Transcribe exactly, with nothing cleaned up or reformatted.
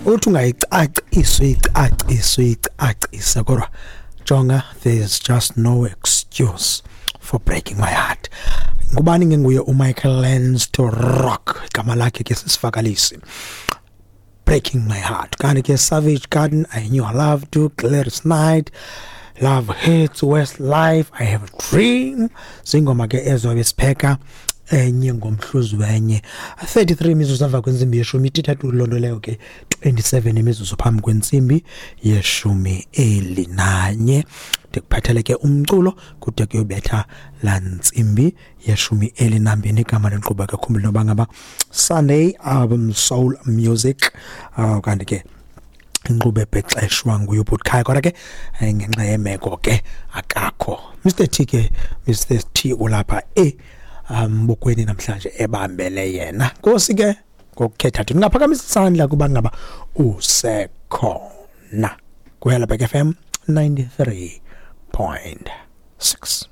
Uthi ungayicacisa, uyicacise, uyicacise, kodwa jonga, there's just no excuse for breaking my heart. Ngubani ngenguye uMichael Learns to Rock, igama lakhe ke sisivakalisi Breaking My Heart. Kanti ke Savage Garden, I Knew I Loved You, Gladys Knight, Love Hurts, Westlife, I Have a Dream. Zingoma ke ezo besipheka enye ngomhluzi wenye. thirty-three imizuzu emva kwentsimbi yeshumi, ithathu loo nto leyo ke twenty-seven imizuzu phambi kwentsimbi yeshumi elinanye. Ndikuphathele ke umculo kude kuyobetha laa ntsimbi yeshumi elinambini. Igama lenkqubo ke khumbula noba ngaba Sunday Album Soul Music, uh, kanti ke inkqubo ebhexeshwa nguye uBhutkhaya, kodwa ke ngenxa yemeko ke akakho Mister T ke. Mister T ulapha e mbukweni namhlanje ebambele yena. Nkosi ke ngokukhetha thina, ungaphakamisa isandla kuba ngaba usekhona. Kuyala Back F M ninety-three point six.